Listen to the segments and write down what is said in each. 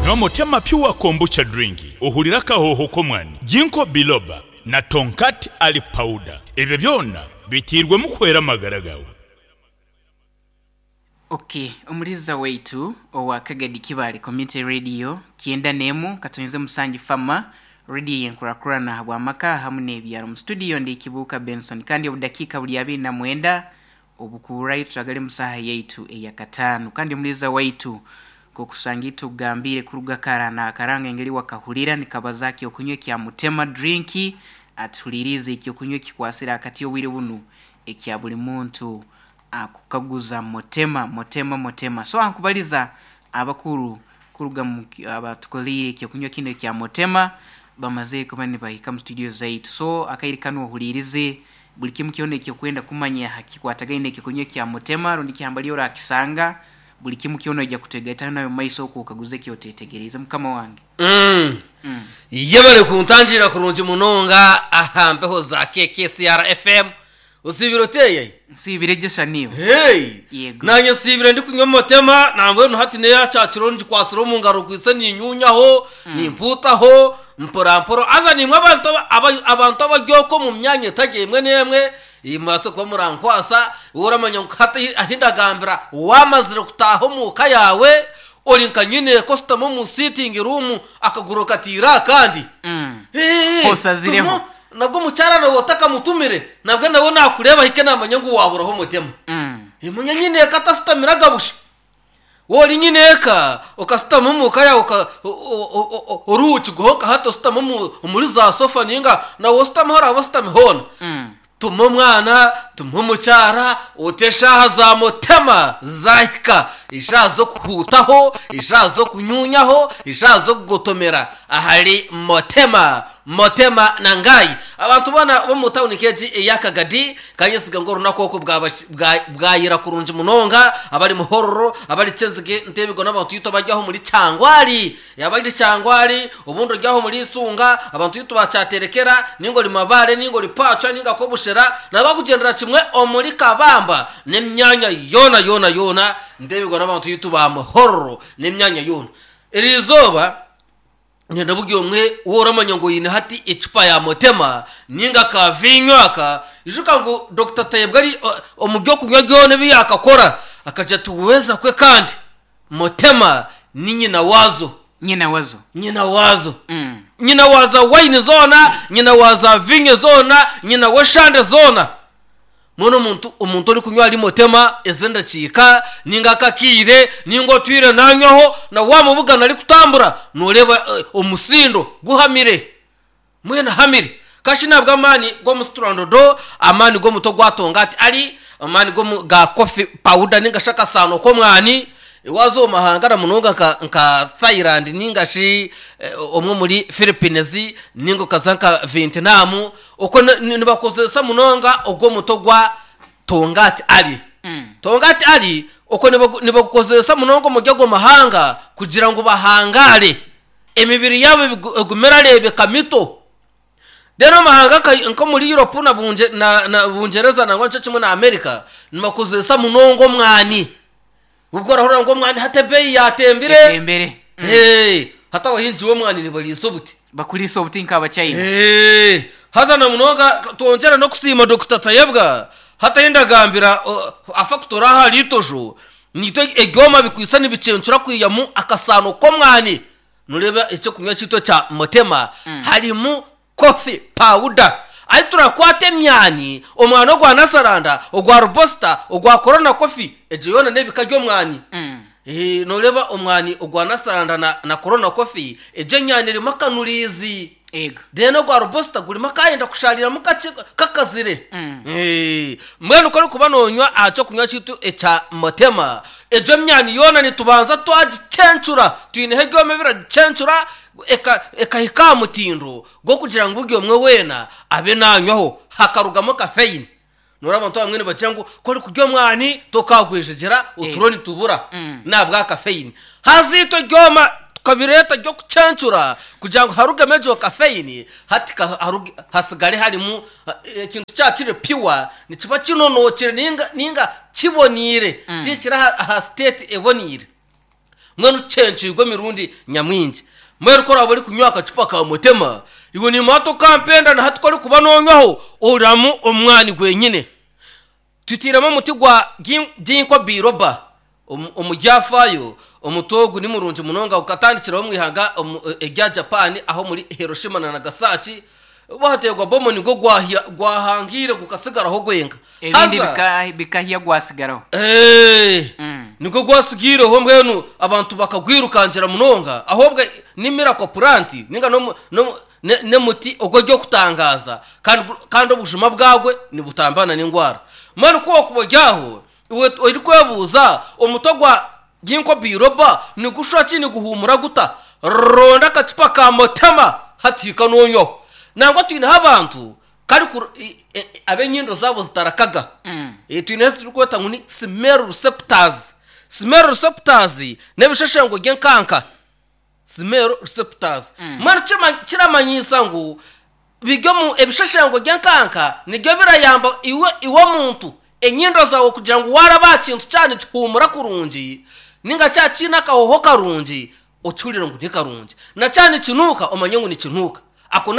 Nywa Motema Pure Kombucha Drink ohurire akahooho k'omwani, Ginkgo Biloba na Tongkat Ali Powder. Ebyo byona biteirwemu kuhwera amagara gaawe. Ok, omuliza waitu owa Kagadi Kibaale Community Radio kyenda n'emu katonyeze musanju Fama Radio yenkurakurana ahabw'amaka hamu n'ebyaro. Mu studio ndi Kibuuka Benson kandi obudakiika buri 29 obukuurayo turagale mu saaha yaitu eyakataano. Kandi omuliza waitu nk'okusanga itukugambiire kuruga kara n'akaranga engeri wakahurira nikabaza kyokunywa ekya Mutema Drink atuhuliirize ekyokunywa ekikwasire akati obwire bunu ekya buli muntu akukaguza Mutema, Mutema, Mutema. So ankubaliza abakuru kuruga mu abatukoliire ekyokunywa kinu ekya Mutema bamazire kuba nibahika mu studio zaitu. So akaire kanu ohuliirize buli kimu kyona ekyokwenda kumanya ha kikwatagaine n'ekyokunywa ekya Mutema rundi ki hambali orakisanga, buli kimu kyona oija kutwegaitaho nawe mu maiso oku okaguze eki otetegeriize mukama wange. Mm. Yebare kuntangiira kurungi munonga aha mpeho za KKCR FM. Osiibire oteeyayi? Nsiibire gye sha niiwe. Hey! Yego. Naanye nsiibire ndikunywa omutema, nambwenu hati n'eyakyakiro ngikwasire omu ngaro nkwitse niinyuunyaho, nimpuutaho mporampora. Haza naimwe abantu aba- aba- abantu abari okwo omu myanya etari emwe n'emwe, mubaase kuba murankwasa, iwe oramanya ngu hati ahi ndagambira waamazire kutaaha omu ka yaawe, ori nka nyineeka oshutami omu sitting room akaguru okataire aha kandi. Hee, Osazireho. tumu- Nabwo omukyara nawe otakamutumire, nabwo nawe nakureeba ahike namanya ngu waburaho omutima. Manya nyineeka atasitamire agabusha. Waaba ori nyineeka okasitama omu ka yaawe oruhukirweho nka hati ositami omuri za sofa ninga nawe ositami ahu oraabe ositami hoona, tuma omwana, tuma omukyara, ote eshaaha za mutema zaahika, eshaaha z'okuhuutaho, eshaaha z'okunyuunyaho, eshaaha z'okugotomera ahari mutema. Motema na Ngai. Abantu boona b'omu tauni nk'egi eya Kagadi kanyesiga ngu orunaku oku bwayira kurungi munonga, abari Muhororo, abari Kyenzige, Ntebigo n'abantu itwe abari aho omuri Kyangwali, abari Kyangwali, obundi ori aho omuri Isunga, abantu itwe ba Kyaterekera, ninga ori Mabare, ninga ori Paachwa, ninga Kobushera, n'abakugyendera kimwe omuri Kabamba n'emyanya yoona yoona yoona, Ntebigo n'abantu itwe ba Muhororo n'emyanya yoona. Eri izooba. Nyine buri omwe ou oramanya ngu oine hati ecupa ya motema ninga ka viinyo aka, ijuka ngu Dokita Tayebwa ari omu by'okunywa byona ebi yaakakora akagira ati weeza kwe kandi motema ni nyina waazo. Nyina wazo. Nyina waazo. Nyina wa za wayini zoona, nyina wa za viinyo zoona, nyina w'eshande zoona. Mbwenu omuntu omuntu orikunywa ahari motema ezi endakiika ninga akakiire ninga otwire nanywaho na wamubugana arikutambura noreeba omusindo guhamire mbwenu ahamire kashi nabwo amaani g'omusiturandodo amaani g'omuti ogwa tongati ari amaani g'omu ga coffee powder ninga shi akasaano k'omwani waaza omu mahanga na munonga nka nka Thailand ninga shi omwe omuri Philippines ninga okaza nka Vietnam Okwo nibakozesa munonga ogwo omuti ogwa Tongati Ali. Tongati Ali okwo nibagukozesa munonga omuri ago mahanga kugira ngu bahangaare, emibiri yaabo egume erareebeka mito. Then omu mahanga nk'omuri Europe na Bungyereza nangwa nikyo kimwe na America, nibakozesa munonga omwani. Obwo orahurira ngu omwani hati ebeeyi yaatembire. Etembere. Ee, hati abahingi b'omwani nibariisa obuti. Bakuriisa obuti nk'Abachina. Ee, haza na munonga twongyera n'okusiima Dokita Tayebwa, hati ahi ndagambira afakutori aha ahari Itojo, naitwe ebyoma bikwaitse nibicencura kwihamu akasaano k'omwani. Noreeba eky'okunywa kyaitu ekya Mutema harimu Coffee powder. Ahi turakwata emyani, omwani ogwa Nasaranda, ogwa Robusta, ogwa Corona Coffee, egyo yoona n'ebika by'omwani. Noreeba omwani ogwa Nasaranda na, na Corona Coffee, egyo enyani erimu akanuriizi. Ego. Then ogwa Robusta gurimu akayenda kushaariramu kakye kakazire. Mbwenu ku orikuba noonywa aha ky'okunywa kyaitu ekya Motema, egyo myani yoona nitubanza twagicencura, twineho ebyoma ebiragicencura, ekahika aha mutindo gw'okugira ngu buri omwe weena abe naanywaho hakarugamu kafeyini. Nooreeba abantu abamwe nibagira ngu ku orikurya omwani tokaagwejegyera oturo nitubura n'ahabwa kafeyini. Haza itwe ebyoma tukabireeta by'okucencura kugira ngu harugemu egyo kafeyini hati hatsigare harimu ekintu kyaba kiri pure nikiba kinonookire nainga kiboniire kihikire aha siteeti eboniire. Mbwenu tucencwirwe emirundi nyamwingi. Mbwenu ku oraabe orikunywa akacupa ka Mutema, iwe niimanya tokampenda na hati ku orikuba noonywaho ohuriramu omwani gwenyine. Tutairemu omuti gwa Ginkgo biloba omu byafaayo. Omuti ogu ni murungi munonga gukatandikiraho omu ihanga erya Japan aho omuri Hiroshima na Nagasaki bahateerwa bomu nigwo gwahangiire gukatsigaraho gwenka. Ebindi bikahya gwatsigaraho. Nigwo gwatsigaireho mbwenu abantu bakagwirukangira munonga ahabw'obwe ni miracle plant ninga n'omuti ogu ery'okutangaaza kandi obujuma bwagwo nibutambana n'endwara. Mbwenu ku orikuba ori aho, iwe orikwebuuza omuti ogwa Ginkgo biloba nigushusha ki, niguhuumura guta? Ronda akacupa ka Motema hati hika noonywaho. Nangwa twineho abantu ab'enyindo zaabo zitarakaga. Twineho ezi turikweta ngu ni smell receptors. Smell receptors n'ebisheshengo by'enkanka. Smell receptors. Mbwenu kiramanyiisa ngu biri omu ebisheshengo by'enkanka nibyo birayamba iwe iwe omuntu enyindo zaawe kugira ngu waaraba aha kintu kyaba nikihuumura kurungi ninga kyaba kiine akahooho karungi okihurire ngu ni karungi. Na kyaba nikinuuka omanye ngu nikinuuka. Ako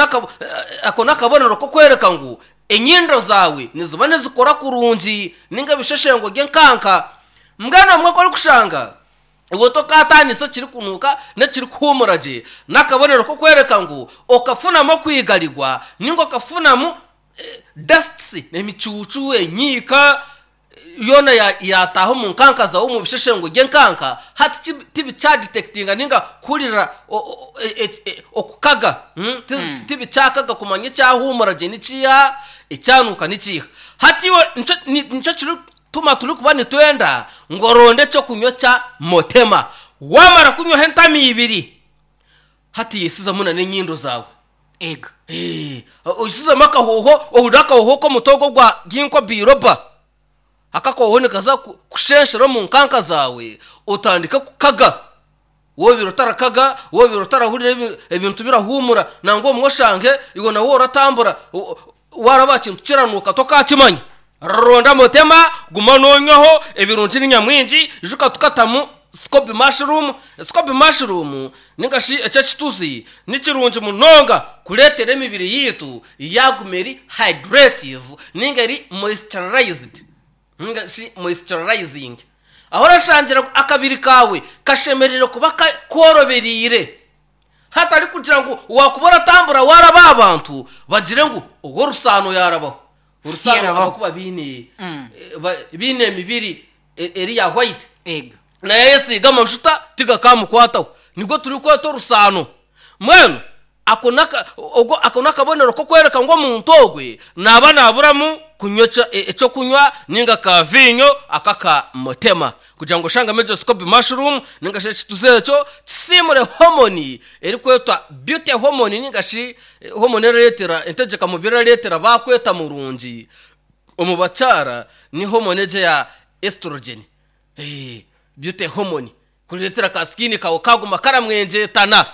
ako n'akabonero k'okworeka ngu enyindo zaawe niziba nizikora kurungi ninga ebisheshengo by'enkanka. Mbwenu obumwe ku orikushanga Iwe tokaataanisa ekirikunuuka n'ekirikuhuumura gye, n'akabonero k'okworeka ngu okafunamu okwigarigwa nainga okafunamu dusts, emicuucu, enyiika yoona yaataaha omu nkanka zaawe omu bisheshengo by'enkanka, hati tibikyadetekitinga nainga kuhurira okukaga, tibikyakaga kumanya ekyahuumura gye nikiiha, ekyanuuka nikiiha. Hati iwe nikyo kiri. Tuma turikuba nitwenda ngu oronde eky'okunywa kya Motema. Waamara kunywaho entama ibiri, hati yesizamu na n'enyindo zaawe. Ego. Ee, oyesizamu akahooho, ohurire akahooho k'omuti ogwo ogwa Ginkgo biloba. Ako akahooho nikaza kushenshera omu nkanka zaawe, otandike kukaga. Woobaire otarakaga, woobaire otarahurira ebintu birahuumura, nangwa obumwe oshange iwe nawe oratambura waaraba aha kintu kiranuuka tokaakimanya. Ronda mutema, guma noonywaho, ebirungi ni nyamwingi, ijuka tukatamu scoby mushroom. Scoby mushroom ninga shi eky'ekituzi ni kirungi munonga kureetera emibiri yaitu yaaguma eri hydrative ninga eri moisturized. Ninga shi moisturizing. Ahu orashangira ngu akabiri kaawe kashemereire kuba koorobereire hatari kugira ngu waakuba oratambura waaraba aha bantu bagire ngu ow'orusaano yaarabaho. Orusaano Yaarabaho. abakuba baine baine emibiri eri ya white Ego. naye ayesiiga amajuta tigakaamukwataho. Nigwo turikweta orusaano. Mbwenu Ako n'aka, ogwo, ako n'akabonero k'okworeka ngu omuntu ogwe naaba naaburamu kunywa eky'okunywa nainga ka viinyo aka aka mutema. Kugira ngu oshangemu egyo scoby mushroom nainga shi ekituzi ekyo kisiimure hormone erikwetwa beauty hormone nainga shi hormone erareetera entegyeka mubiri erareetera baakweta murungi omu bakyara ni hormone egyo eya estrogen, beauty hormone. Kureetera ka skin kaawe kaaguma karamwengyeetana.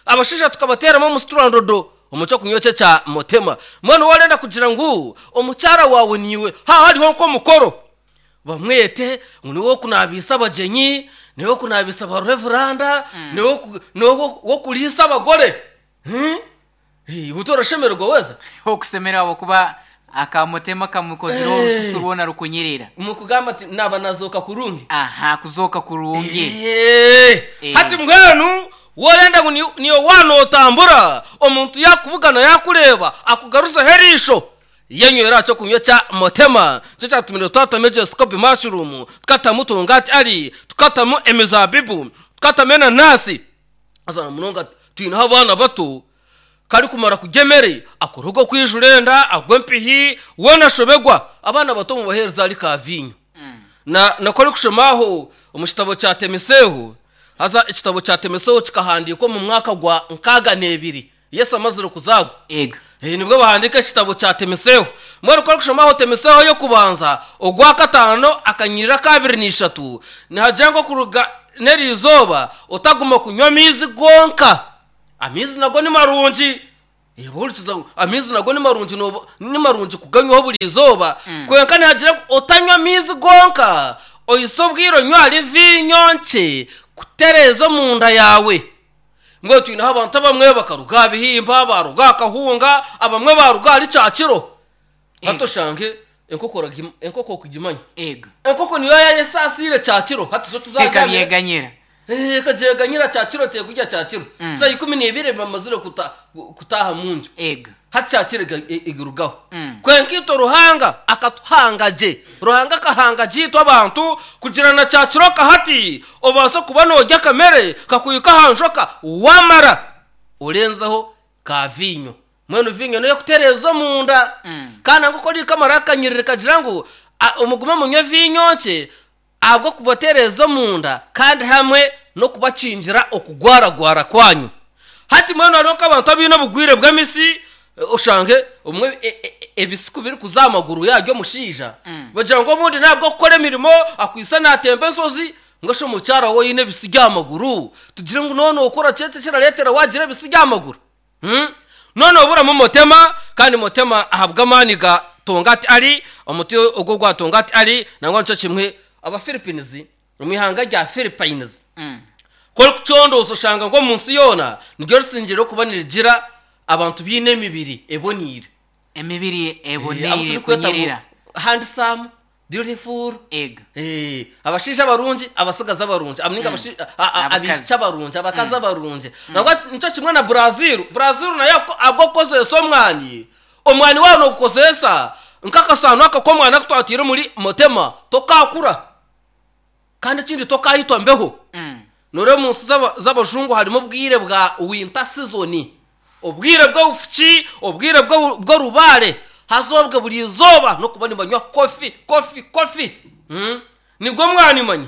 Abashaija tukabateeramu omusiturandodo omu ky'okunywa eki ekya Motema. Mbwenu waarenda kugira ngu omukyara waawe niiwe haaba hariho nk'omukoro, bamwete ngu niiwe w'okunaabiisa abagyenyi, niiwe w'okunaabiisa ba revuranda, niiwe w'okuriisa abagore. Iwe torashemererwa weeza? Okusemererwa ahabw'okuba akamutema kamukozire orususu rwona rukunyirira. Mukugamba ati naaba nazooka kurungi. Aha, kuzooka kurungi. Hati mbwenu worenda ngu niiwe waanotambura, omuntu yaakubugana yaakureeba akugaruzeho eriisho, yenywera aha ky'okunywa ekya Motema. Nikyo kyatumire twatamu egyo scoby mushroom, tukatamu tongati ali, tukatamu emizaabibu, tukatamu enanaasi. Haza na munonga twineho abaana bato, ku arikumara kurya emere akora ogw'okwijura enda, agwa empihi, weena ashobegwa. Abaana bato mubaheereze ahari kaaviinyo. Na na ku orikushoma aho omu kitabo kya Temiseeho, haza ekitabo kya Temiseeho kikahandiikwa omu mwaka gwa nkaaga n'ebiri Yesu amazire kuzaarwa. Ego. Nibwo bahandiika ekitabo kya Temiseeho. Mbwenu ku orikushoma aho Temiseeho ey'okubanza, ogwakataano akanyiriri akaabiri na ishatu, nihagira ngu okuruga n'eri izooba otaguma kunywa amaizi gonka. Amaizi nago ni marungi. Ohurikiza ngu amaizi nago ni marungi ni marungi kuganywaho buri izooba, kwonka nihagira ngu otanywa amaizi gonka. Oise obwire onywe ahari viinyo nkye kutereeza omunda yaawe. Mbwenu twineho abantu abamwe bakaruga aha bihimba, baaruga aha kahunga, abamwe baaruga ahari kyakiro. Hati oshange enkoko oragi enkoko okugimanya. Ego. Enkoko niyo yaayesaasiire kyakiro hati zo tizabyamire. Ekabyeganyira. Ekagyeganyira kyakiro teekurya kyakiro. Mm. Saa ikumi n'ibiri bamazire kuta kutaaha mu nju. Ego. Hati kyakiro egirugaho. Mm. Kwonka itwe Ruhanga akatuhanga gye. Ruhanga akahanga gye itwe abantu kugira na kyakiro kahati obaase kuba noorya akamere kakuhika aha njoka waamara orenzeho ka viinyo. Mbwenu viinyo n'ey'okutereeza omunda. Mm. Kandi nangwa ku orikamara akanyiriri kagira ngu mugume munywe viinyo nkye ahabw'okubatereeza omunda kandi hamwe n'okubakingira okugwaragwara kwanyu. Hati mbwenu hariho nk'abantu abaine obugwire bw'emisi, oshange obumwe ebisi ku birikuza aha maguru yaaryo omushaija, bagira ngu obundi n'ahabw'okukora emirimo akwaitse naatemba enshozi, mbwenu shi omukyara we oine ebisi by'aha maguru, tugire ngu noona okora ki eki ekirareetera waagira ebisi by'aha maguru? Noona oburamu Mutema, kandi Mutema ahabw'amaani ga Tongat Ali, omuti ogwo ogwa Tongat Ali, nangwa nikyo kimwe aba Philippines, omu ihanga rya Philippines. Ku orikucondooza oshanga ngu omu nsi yoona niryo risingire kuba nirigira abantu baine emibiri eboneire. Emibiri Abu eboneire turikweta ngu kunyirira. handsome, beautiful, Ego. abashaija abarungi, abatsigazi abarungi, ninga Abakazi. abaishiki abarungi, abakazi abarungi. Nangwa nikyo kimwe na Brazil, Brazil nayo ahabw'okukozesa omwani, omwani waaba noogukozesa nk'akasaano aka k'omwani aku twataire omuri Motema, tokaakura. Kandi ekindi tokaitwa mbeho. Nooreeba omu nsi z'abajungu harimu obwire bwa winter season, obwire bw'obufuki, obwire bw'orubaare, haza obwe buri izooba n'okuba nibanywa coffee, coffee, coffee. Nigwo mwani manya.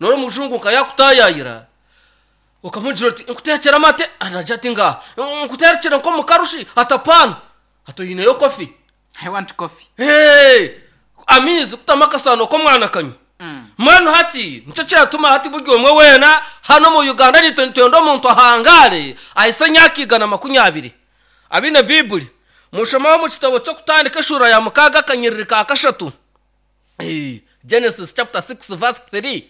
Nooreeba omujungu nka yaakutaayaayira, okamugira oti nkuteekyere amate? Aragira ati ngaaha. Nkuteekyere nk'omukarushi? Ati apaana. Ati oineyo coffee? I want coffee. Hey! Amaizi kutamu akasaano k'omwana akanywa. Mbwenu hati nikyo kiratuma hati buri omwe weena hanu omu Uganda naitwe nitwenda omuntu ahangaare ahise emyaka 120. Abaine Baiburi, mushomeho omu kitabo ky'Okutandika eshuura ya mukaaga akanyiriri ka kashatu. Genesis chapter 6 verse 3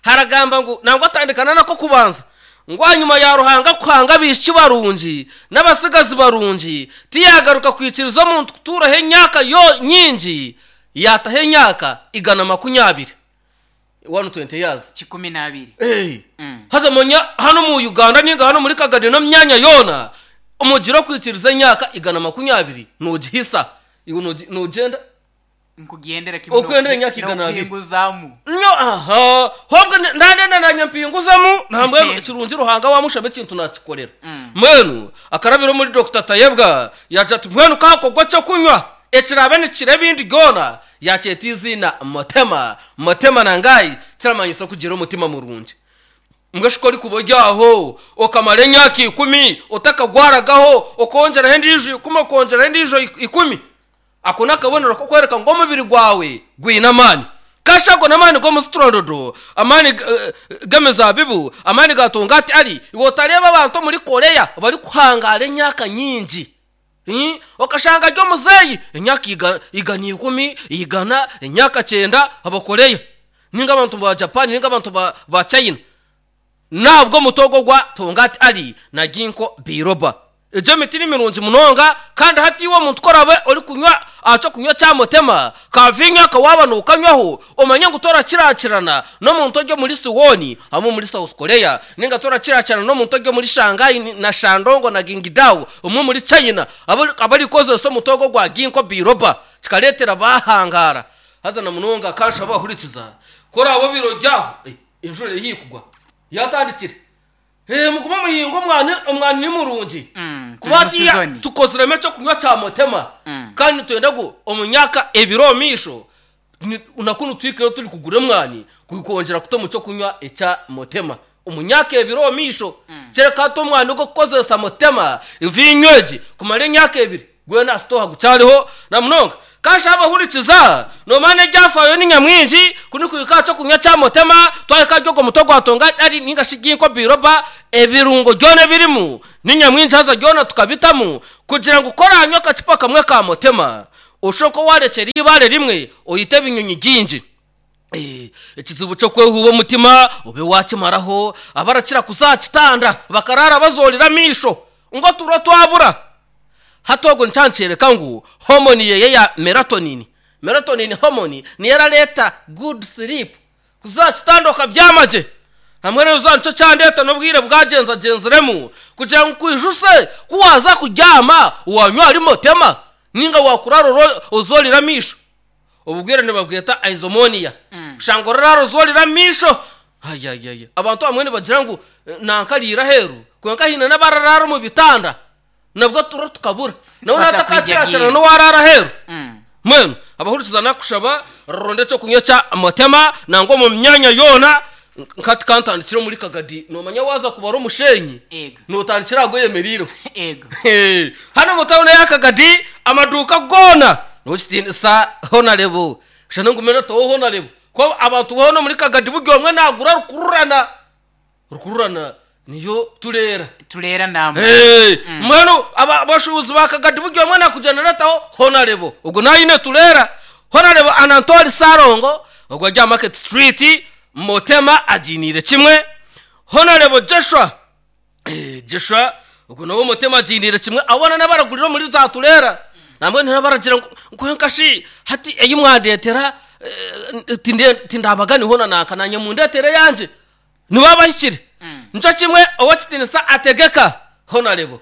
haragamba ngu nangwa atandikana n'ak'okubanza ngu ahanyima ya Ruhanga kuhanga abaishiki barungi n'abatsigazi barungi tiyaagaruka kwikiriza omuntu kutuuraho emyaka yo nyingi yaataho emyaka 120 120 years 120. Hey. Haza manya hanu omu Uganda ninga hanu omuri Kagadi n'omu myanya yoona omugire okwikiriza emyaka 120 noogihisa iwe noogyenda Nkugyendera kimwe Okwendera emyaka 200. n'okuhinguzamu. Nyo aha hobwe nandenda nanye mpinguzamu nambwenu ekirungi Ruhanga wamushaba ekintu nakikorera. Mbwenu akarabira omuri Dokita Tayebwa yagira ati mbwenu kahakorwa ekyokunywa ekiraabe nikikira ebindi byona yakyeta eiziina Mutema. Mutema nangayi kiramanyisa okugira omutima murungi. Mbwenu shi ku orikuba ori aho okamara emyaka 10 otakagwaragaho okongyeraho endiijo 10 okongyeraho endiijo 10 Ako n'akabonero k'okworeka ngu omubiri gwawe gwine amaani. Kasha ago n'amaani g'omuziturorodo, amaani g'emizaabibu, amaani ga tongati ari. Iwe otareeba abantu omuri Korea barikuhangaara emyaka nyingi. Okashanga ari omuzeeyi emyaka 110, 100, emyaka 90, Abakorea ninga abantu ba Japan ninga abantu ba China. N'ahabw'omuti ogwo ogwa Tongat Ali na Ginkgo biloba. Egyo emiti ni mirungi munonga, kandi hati iwe omuntu ku oraabe orikunywa aha ky'okunywa kya Mutema, ka viinyo aka waaba nookanywaho, omanye ngu torakiraakirana n'omuntu ori omuri Siwoni hamwe omuri South Korea, nainga torakiraakirana n'omuntu ori omuri Shanghai na Shandong na Qingdao omwe omuri China, abarikukozesa omuti ogwo ogwa Ginkgo biloba, kikareetera baahangaara. Haza na munonga kanshaba hurikiza, ku oraabe obaire ori aho, Enjura eri haihi kugwa. Yaatandikire. Ee, mugume muhinge omwani, omwani ni murungi. Turi Kuba mu hatiiya sizoni. tukoziremu eky'okunywa kya Mutema, kandi nitwenda ngu omu myaka ebiri omu maisho, ni- na kunu tuhikeyo turi kugura omwani kwongyera kuta omu ky'okunywa ekya Mutema. Omu myaka ebiri omu maisho. Kyereka hati omwani ogw'okukozesa Mutema, viinyo egi, kumara emyaka ebiri. Gwena aha sitooha gukyariho na munonga. Kasha abahurikiza, noomanya n'ebyafaayo ni nyamwingi, ku nikuhika aha ky'okunywa kya Mutema, twahika ahari ogwo muti ogwa Tonga ari ninga shi Ginkgo biloba, ebirungo byona ebirimu ni nyamwingi haza byona tukabitamu kugira ngu ku oraanywa akacupa kamwe ka Mutema, oshushe nk'owaarekyera eibaare rimwe oite ebinyonyi bingi. Eh, ekizibu ky'okwehuuba omutima obe waakimaraho, abarakira kuza aha kitanda bakaraara bazoorire amaisho ngu oturo twabura. Hati ogwo nikyo nikyoreka ngu hormone ye eya melatonin, melatonin hormone, niyo erareeta good sleep, kuza aha kitanda okabyama gye. Hamwe n'eizooba nikyo kyandeeta n'obwire bwagyenzagyenziremu kugira ngu nkwijuse ku waaza kubyama waanywa ahari motema nainga waakuraara ozoorire amaisho. Obu bwire nibabweta aizomonia. Kushanga oraraara ozoorire amaisho. Ayayaya! Abantu abamwe nibagira ngu nanka ariire aheeru kwonka haine n'abararaara omu bitanda nabwo oturo tukabura. Nawe natakakiraakirana n'owaaraara aheeru. Mbwenu abahurikiza nakushaba ronda ekyokunywa ekya Motema nangwa omu myanya yoona nkati kantandikire omuri Kagadi noomanya waaza kubara omusheenyi Ego. nootandikira aha gweyemereireho. Ego. Hanu omu tawuni eya Kagadi amaduuka goona n'owekitiinisa Honarebo shana ngume nataho Honarebo kuba abantu boona omuri Kagadi buri omwe naagura rukururana. Rukururana niyo tureera. Tureera namba. Hey, mbwenu abashuubuzi ba Kagadi buri omwe nakugira narataho Honarebo ogwo nawe aine tureera. Honarebo Anantori Ssalongo ogwo ari aha Market Street Motema agiiniire kimwe. Honarebo Joshua eh, Joshua ogwo nawe Motema agiiniire kimwe. Abo boona n'abaragurira omuri za tureera. Nambwenu hariho abaragira ngu kwonka shi hati ei mwandeetera eh, tinde- tindabaga niho na nanka naanye mundeetere eyangye. Nibo abahikire. Nikyo kimwe ow'ekitiinisa ategeka, Honarebo.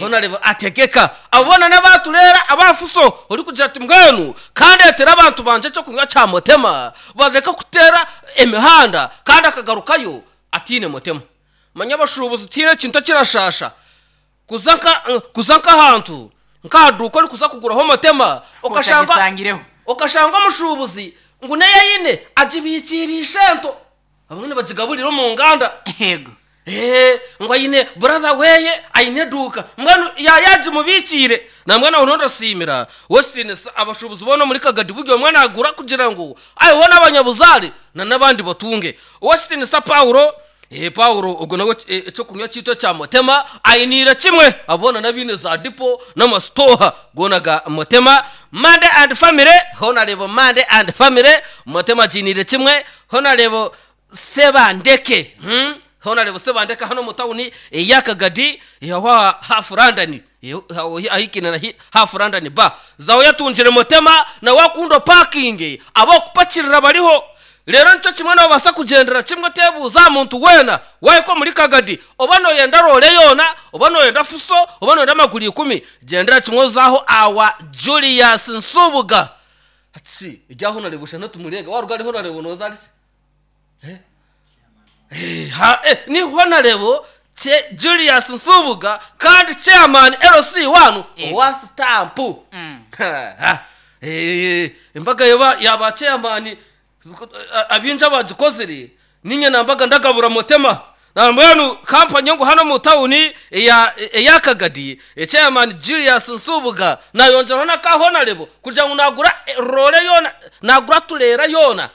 Honarebo ategeka. Abo boona n'abaatureera aba fuso orikugira ati mbwenu ka ndeetere abantu bangye eky'okunywa kya motema bareke kuteera emihanda kandi akagarukayo ataine motema. Manya abashuubuzi tihaine ekintu ekirashaasha kuza nka kuza nk'ahantu nk'aha duuka orikuza kuguraho motema okashanga Otagisangireho. okashanga omushuubuzi ngu n'ei aine agibiikiire ishento. Abamwe nibagigaburira omu nganda. Yego. Eeh, ngu aine brother weye aine eduuka mbwenu yayagimubikiire. Nambwenu aho niho ndasiimira Westins abashuubuzi boona omuri Kagadi buri omwe nagura kugira ngu aheho n'abanyabuzaare na n'abandi batunge. Westins Paulo, eeh Paulo ogwo nawe eky'okunywa kyaitu ekya Motema ainiire kimwe abo boona n'abaine za dipo n'amasitooha goona ga Motema. Monday and family, hoona reeba Monday and family, Motema agiiniire kimwe. Honarebo Sebandeke, Honarebo Sebandeke hanu omu tawuni eya Kagadi aho aha Half London ahikaine na Half London Bar. Zaho yatungire Motema nawe akunda opakinge ab'okupakirira bariho. Reero nikyo kimwe noobaasa kugyendera kimwe oteebuuza aha muntu weena waahika omuri Kagadi oba nooyenda roore yoona, oba nooyenda fuso, oba nooyenda amaguru ikumi, gyendera kimwe oze aho awa Julius Nsubuga. Hati shi erya Honarebo shana tumureebe waruga ahari Honarebo nooza ahari ki? Eh? Eh, ha, eh, ni Honarebo Che Julius Nsubuga kandi Chairman LC wanu Yego. owa sitampu. Ha, ha. Eh, embaga yaba yaba chairman Abaingi abagikozire niinye nambaga ndagabura Motema. Nambwenu kampani ngu hanu omu tawuni eya eya Kagadi, Chairman Julius Nsubuga nayongyeraho n'aka Honarebo kugira ngu nagura roore yoona, nagura tureera yoona,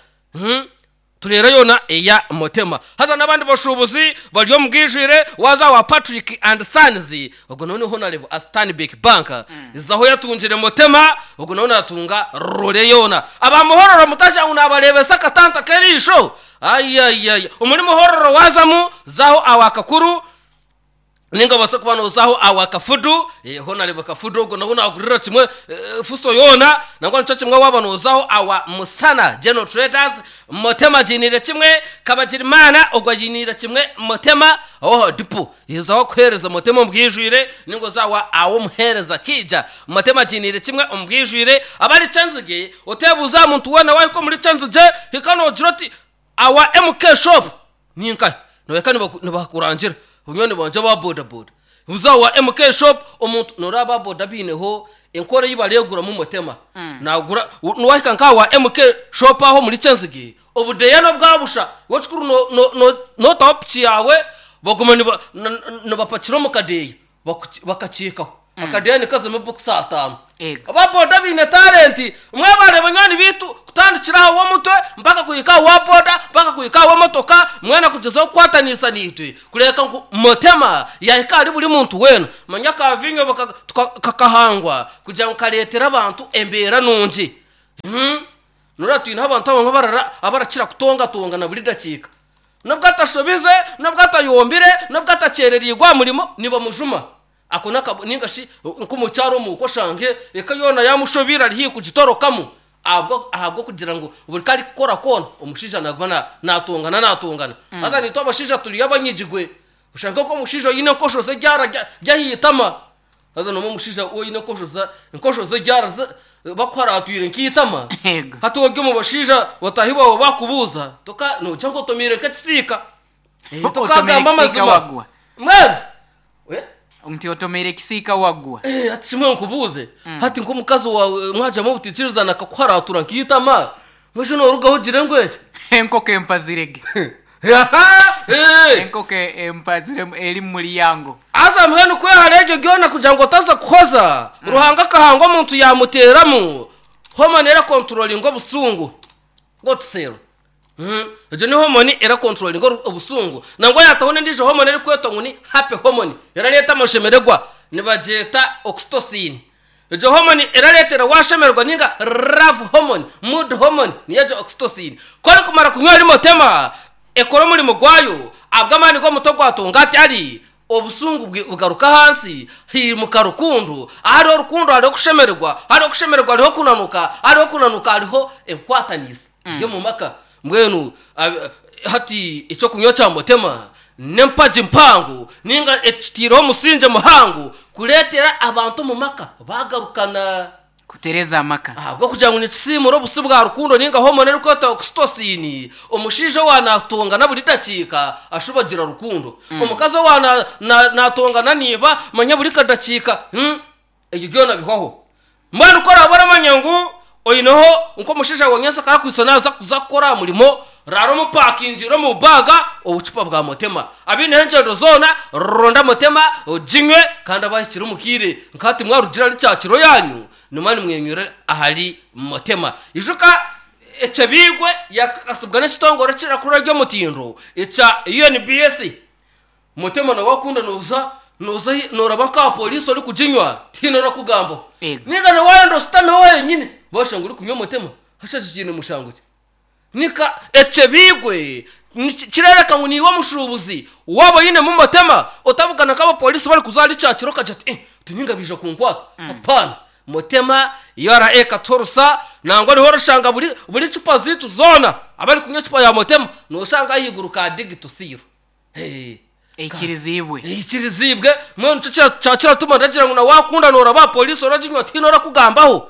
tureera yoona eya Motema. Haza n'abandi bashuubuzi bari omu bwijwire, waaza owa Patrick and Sons, Ogwo nawe ni Honarebo a Stanbic Bank zaho yatungire Motema ogwo nawe natunga rore yoona. Aba Muhororo mutagira ngu nabareebesa akatanta k'eriisho ayayaya omuri Muhororo waazamu zaho awa Kakuru ninga obaase kuba nozaho awa Kafudu Honarebo Kafudu ogwo nawe nagurira kimwe fuso yoona nangwa nikyo kimwe waaba nozaho awa Musana General Traders Motema agiiniire kimwe Kabagirimana ogwo agiiniire kimwe Motema oho dipo Iza aho kuheereza Motema omu bwijwire, ninga oze awa ahu omuheereza akaija. Motema agiiniire kimwe omu bwijwire. Abari Kyenzigye, oteebuuza aha muntu weena waahika omuri Kyenzigye, hika noogira oti, Awa MK shop ni nkahi? Nohika nibakurangira. Banywani bangye aba bodaboda. Buuza awa MK shop, omuntu, nooreeba aba boda baineho enkora ei bareeguramu Motema. Naagura, waahika nk'aha wa MK shop aho omuri Kyenzigye, Obudeeya n'obwa busha. Iwe ekikuru nootaho piki yaawe baguma nibapakira omu kadeeya bakakiikaho. Akadeeya nikazamu ebokisi ataano. Ego. Aba boda baine talenti. Mwebare banywani baitu kutandikira aha w'omutwe mpaka kuhika aha wa boda mpaka kuhika aha w'emotoka mwena kugyezaho kukwatanisa naitwe kureebeka ngu Motema yaahika ahari buri muntu weena. Manya aka viinyo kakahangwa kugira ngu kareetere abantu embeera nungi. Noreeba twineho abantu abamwe abarara abarakira kutongatongana buri dakiika. N'obu atashobize, n'obu atayombire, n'obu atakyerereirwe aha murimo, nibamujuma. Ako n'akabo nainga shi nk'omukyara omuka oshange eka yoona yaamushobeire ari haihi kugitorokamu ahabwa ahabw'okugira ngu buri ku arikukora koona omushaija naaguma na naatongana naatongana. Haza naitwe abashaija turi abanyigigwe, oshange nk'omushaija oine enkosho ze ryara ry'aha itama, haza n'omwe omushaija oine enkosho za enkosho ze ryara bakuharaatwire nk'eitama, Yego. hati ori omu bashaija bataahi baawe baakubuuza toka noogira ngu otomeire nk'ekisiika. Otomeire Tokagamba ekisiika amazima. wagwa. Mbwenu Eh? Nti otomeire ekisiika wagwa. Eh, hati kimwe nkubuuze hati nk'omukazi waawe mwagiramu obutaikirizana akakuharatura nk'eitama mbwenu noorugaho ogire ngu eki Enkoko empazire ge. Eh! Enkoko empazire eri mu muryango. Haza mbwenu kwehara ebyo byona kugira ngu otaza kuhoza, Ruhanga akahanga omuntu yaamuteeramu hormone erakonturoringa obusungu, cortisol. Egyo ni hormone erakonturoringa obusungu. Nangwa yaataho n'endiijo hormone erikwetwa ngu ni happy hormone, erareeta amashemererwa, nibagyeta oxytocin. Egyo hormone erareetera waashemererwa nainga love hormone, mood hormone, niyo egyo oxytocin. Ku orikumara kunywa rimotema, ekora omurimo gwayo, ahabw'amaani g'omutwe gwa Tongati ari, obusungu bugaruka ahansi, haimuka rukundo. Ahariho rukundo hariho okushemererwa, ahariho okushemererwa hariho okunanuka, ahariho okunanuka hariho enkwataniisa y'omu maka. Mbwenu hati eky'okunywa kya Mutema n'empagi mpango nainga ekitaireho omusingye muhango kureetera abantu omu maka baagarukana. Kutereeza amaka. Ahabw'okugira ngu nikisiimura obusi bwa rukundo nainga hormone erikwetwa oxytocin, omushaija owa naatongana buri dakiika ashuba agira rukundo. Omukazi owa naatongana na iba manya buri kadakiika, ebyo byona bihwaho. Mbwenu ku oraabe oramanya ngu oineho nk'omushaija wa nyentsya akaakwitsa naaza kuza kukora aha murimo, raara omupakingiire omu baaga obucupa bwa motema. Abaineho engyendo zoona, ronda motema oginywe kandi abahikire omu kaire nka hati mwarugire ahari kyakiro yaanyu, nimwo nimwenywera ahari motema. Ijuka ekyebiigwe yakakasibwa n'ekitongore ekirakuru ery'omutindo ekya UNBS. Mutema nawe wakunda noza noza noraba nka police orikuginywa tihaine orakugambaho. Ego. Ninga nawe wayenda osutameho wenyine bashanga orikunywa mutema hasha eki kiine mushango ki? Nika ekyebiigwe kirereka ngu niiwe omushuubuzi waaba oyinemu mutema otabugana nk'abapolisi barikuza ahari kyakiro okagira oti eh oti ninga baija kunkwata hapaana. Mutema URA ekatuhurusa nangwa niho orishanga buri buri cupa zaitu zoona abarikunywa ecupa ya mutema noshanga ahaiguru ka digito seal. Eikiriziibwe. Eikiriziibwe. Mbwenu nikyo kyakiratuma ndagira ngu na waakunda nooraba aha pooriisi oraginywa tihaine orakugambaho.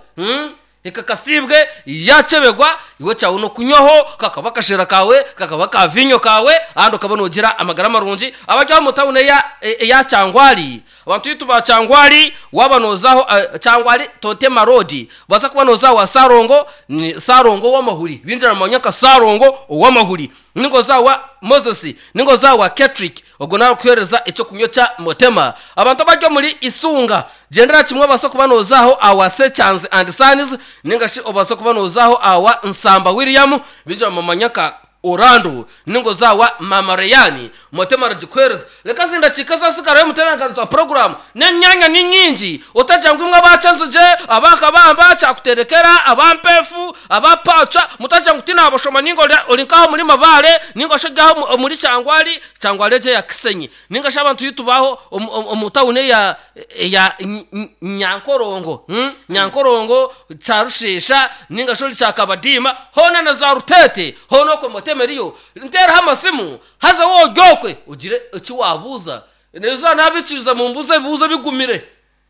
Ekakasiibwe, yaakyebegwa, iwe ekyawe n'okunywaho, kakaba akashera kaawe, kakaba ka viinyo kaawe, ahandi okaba noogira amagara marungi. Abari omu tawuni eya eya Kyangwali, abantu baitu ba Kyangwali, waaba nooza aho Kyangwali Totema Road, waaza kuba nooza aho wa Saarongo, ni Saarongo ow'amahuri, baingi baramumanya nka Saarongo ow'amahuri. Ninga oza awa Moses, ninga oza awa Ketrick, ogwo naarikuheereza eky'okunywa kya Mutema. Abantu abari omuri Isunga, gyendera kimwe obaase kuba nooza aho awa Sekyanzi and Sons, ninga shi obaase kuba nooza aho awa Nsamba William, baingi bamumanya nka Orlando, ninga oza awa Maama Reyani, Mutema aragikuheereza. Reka ezi ndakiika ezaatsigarayo omutebeekanisa wa puroguraamu n'emyanya ni nyingi, otagira ngu imwe aba Kyenzigye, aba Kabamba, Kyakuterekera, aba Mpeefu, aba Paca, mutagira ngu tinaabashoma nainga ori nk'aha omuri Mabaare nainga shi ori aha omuri Kyangwali, Kyangwali egyo eya Kisenyi, nainga shi abantu ei tubaho omu tawuni eya eya Nyankorongo, Nyankorongo, Kyarusheesha nainga shi ori Kyakabadiima, hoona na za Ruteete, hoona okwo Mutema eriyo. Nteeraho amasimu. Haza waaba ori okwe ogire eki waabuuza. N'eizooba naabaikiriza mumbuuze ebibuuzo ebigumire.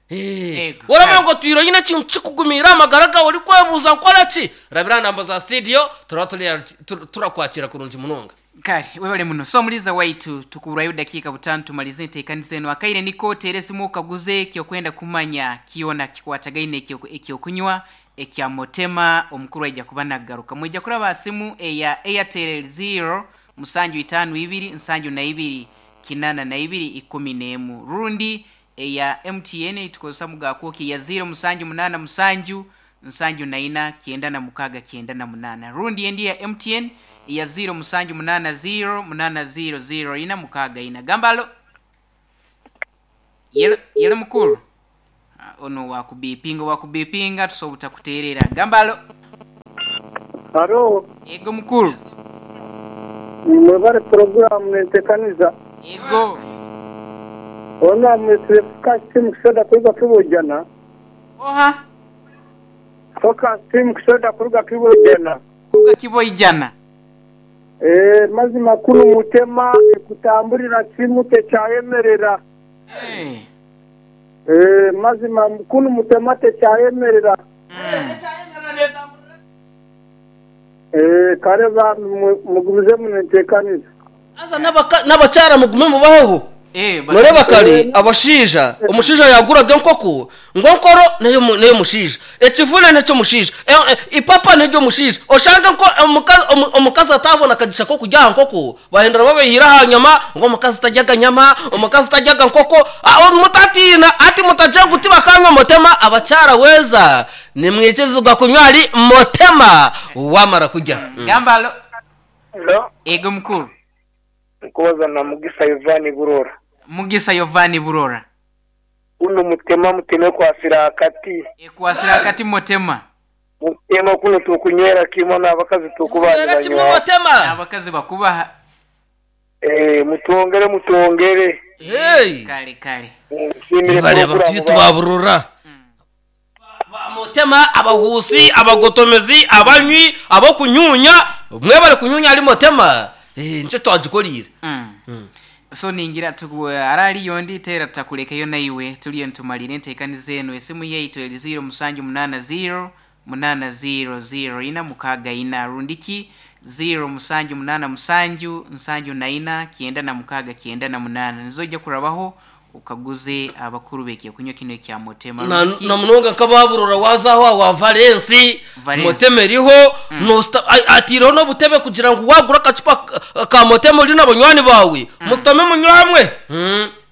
Ego. Waramanya ngu otwire oine ekintu kikugumiire aha magara gaawe orikwebuuza nkore ki? Rabira aha namba za studio turaba turakwakira kurungi munonga. Kare, webale muno. So omuliiza waitu, tukuburwayo obudakiika butaano tumalize enteekaniza enu. Akaire niko oteere esimu okaguze eki okwenda kumanya kyona kikwatagaine eky'okunywa ekya Motema omukuru aija kuba nagaruka. Mwija kuraba aha simu eya Airtel ziro musanju itaano ibiri nsanju na ibiri kinana na ibiri ikumi n'emu rundi eya MTN ei tukozesa mu ga kwoki eya ziro musanju munaana musanju nsanju na ina kyenda na mukaaga kyenda na munaana rundi endi eya MTN eya ziro musanju munaana ziro munaana ziro ziro ina mukaaga ina. Gamba alo. Yelo, yelo mukuru. Ah, ono wakubipinga wakubipinga tusobola butakuteerera. Gamba alo. Haro. Yego mukuru. Mwebare puroguramu nentekaniza. Yego. Ona mwetsire Focus Team Kusoda kuruga Kibojana. Oha? Focus Team Kusoda kuruga Kibojana. Kuruga Kiboijana. Eeh mazima kunu mutema ekutamburira kimu tekyayemerera. Eeh mazima kunu mutema tekyayemerera. Eeh kare bambi mugumizemu nentekaniza. Haza n'abakyara mugume mubaheho. Noreeba kare abashaija, omushaija yaaguraga enkoko, ngu enkoro n'ey'omushaija, ekivune n'eky'omushaija, ipapa n'ery'omushaija. Oshange omukazi ataabona kagisha k'okurya aha nkoko, bahindura babaihire aha nyama, ngu omukazi taryaga nyama, omukazi taryaga nkoko. Mutatiina, hati mutagira ngu tibakanywa mutema, abakyara weeza nimwikirizibwa kunywa ahari mutema waamara kurya. Gamba alo. Ego mukuru. Nkubaza na Mugisa Yovani Burora. Mugisa Yovani Burora. Kunu mutema mutema ekwasire akati. Ekwasire akati mutema. Mutema kunu tukunywera kimwe n'abakazi tukubaha Tunywera kimwe nibanywa. mutema. N'abakazi bakubaha. Eh, mutwongere mutwongere. Hey! Kale kale. Nsiimire Nibareeba puroguramu ngu tubaburura. Ba Mutema, abahuusi, abagotomezi, abanywi, ab'okunyuunya, mwebare kunyuunya ahari Mutema, nikyo twagikoriire. So ningira tuku arariyo ondi teera tutakurekeyo naiwe turiyo nitumarira enteekaniza enu esimu yaitu eri ziiro musanju munaana ziiro munaana ziiro ziiro ina mukaaga ina rundiki ziiro musanju munaana musanju nsanju na ina kyenda na mukaaga kyenda na munaana nizo oija kurabaho Okaguze abakuru b'ekyokunywa kinu ekya Motema Na rundi ki? na munonga nk'abaaburora waaza aho awa Valensi, Valensi. Motema eriho, noosita a- ataireho n'obutebe kugira ngu waagura akacupa ka- ka Motema ori na banywani baawe, musitame munywe hamwe.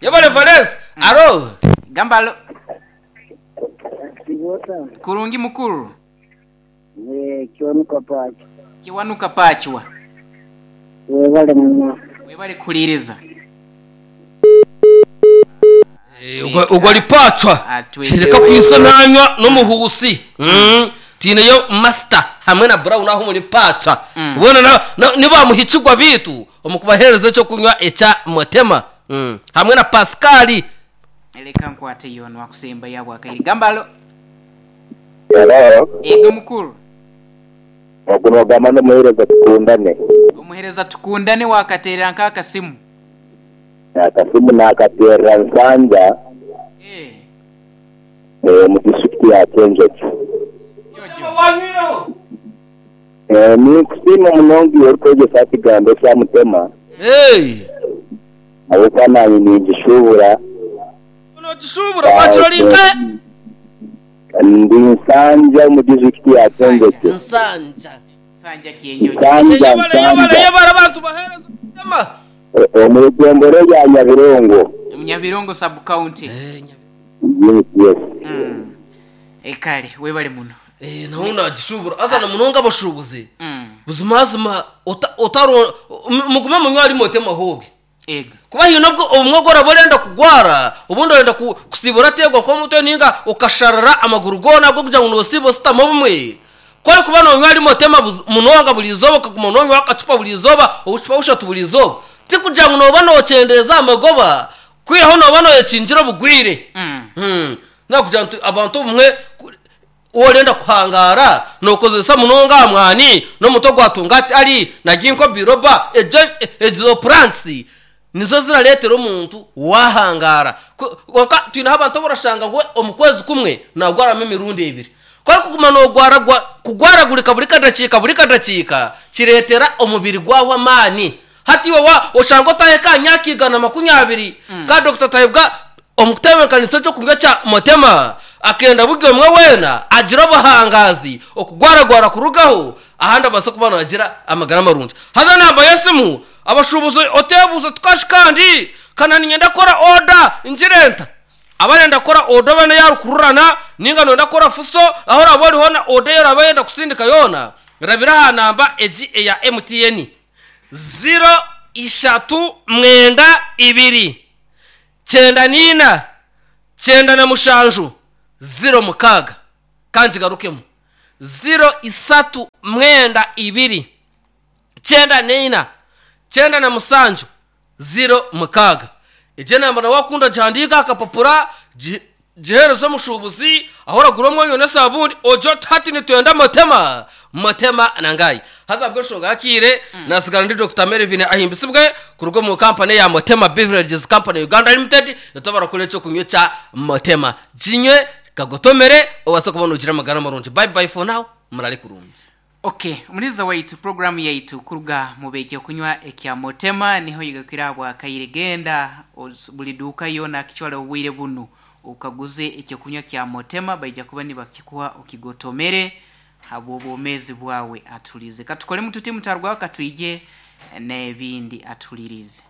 Yebare Valensi. Alo. Gamba alo. Kurungi mukuru. Kiwanuka Paachwa. Kiwanuka Paachwa. Webale muno. Webale kuhuriiriza. Ogwo ari Paachwa. Reka kwitsa nanywa n'omuhuusi. Twineyo Master hamwe na Brown aho omuri Paachwa. Boona ni baamuhikirwa baitu omu kubaheereza eky'okunywa ekya Mutema. Hamwe na Pascal. Leka nkwate yoona akusembayo ahabw'akaire. Gamba alo. Hello. Ego mukuru. Ogu nogamba n'omuheereza Tukundane. Omuheereza Tukundane wakateerera nka akasimu? Akasimu nakateerera Nsanja omu disiturikiti ya Kyenjojo. Ninkusiima munonga iwe orikwegyesa aha kigambo ekya Mutema ahabw'okuba naanye ningishuubura. Nogishuubura waakira ori nkahe? Ndi Nsanja omu disiturikiti ya Kyenjojo. Nsanja. Nsanja Kyenjojo. Nsanja, Yebare, yebare, Nsanja. yebare abantu baheereza Mutema. Omu rugombora erya Nyabirongo. Nyabirongo sub county. Yes, yes. Kale webale muno. Nawe nagishuubura haza na munonga abashuubuzi buzimazima ota- otaro mugume munywe ahari Mutema hoobwe. Ego. Kuba haine obu obumwe obu oraba orenda kugwara, obundi orenda ku kusiiba orateerwa nk'omutwe nainga okasharara amaguru goona ahabw'okugira ngu noosiiba ositama obumwe. Ku orikuba noonywa ahari Motema munonga buri izooba okaguma noonywaho akacupa buri izooba, obucupa bushatu buri izooba, tikugira ngu nooba nookyendeeza aha magoba, kwihaho nooba nooyekingira obugwire. Nakugira nti abantu obumwe ku. Orenda kuhangaara nookozesa munonga aha mwani n'omutwe gwa tongati ari na ginkgo biloba egyo ezo plants nizo zirareetera omuntu waahangaara. Kwonka twineho abantu abu orashanga ngu omu kwezi kumwe naagwaramu emirundi ebiri. Ku orikuguma noogwara kugwaragurika buri kadakiika buri kadakiika kireetera omubiri gwahwa amaani. Hati iwe oshanga otahika aha myaka 120 ka Dokita Tayebwa Omu kutebeekanisa eky'okurya kya Mutema, akenda buri omwe weena agire obuhangaazi, okugwaragwara kurugaho, ahandi abaase kuba naagira amagara marungi. Haza enamba y'esimu, abashuubuzi oteebuuza oti kashi kandi ka na niinyenda kukora oda ngire nta? Abarenda kukora oda obe n'eya rukururana nainga nooyenda kukora fuso, ahu oraabe ori hoona oda ei oraabe oyenda kusindika yoona, rabira aha namba egi eya MTN, ziro ishatu mwenda ibiri. 94, 97, 06. Ka ngigarukemu. 0 3 9 2 94 97 06. Egyo enamba nawe wakunda gihandiika aha kapapura, giheereze omushuubuzi ahu oragura omwonyo n'esabuuni, ogire oti hati nitwenda motema, motema na ngaayi. Haza ahabw'enshonga y'akaire, naatsigara ndi Dokita Melvin Ahimbisibwe kuruga omu kampani eya Motema Beverages Company Uganda Limited, itwe abarakora eky'okunywa ekya Motema. Ginywe, kagotomere, obaase kuba noogira amagara marungi. Bye bye for now, murare kurungi. Ok, omuhuriza waitu puroguramu yaitu kuruga mu b'ekyokunywa ekya Motema niho yegakire ahabwa kaire. Genda buri duuka yoona akicwara obwire bunu okaguze ekyokunywa kya Motema baija kuba nibakikuha okigotomere habw'obwomeezi bwawe atulize. Katukoremu tuti mutarwaho katwije n'ebindi atulirize.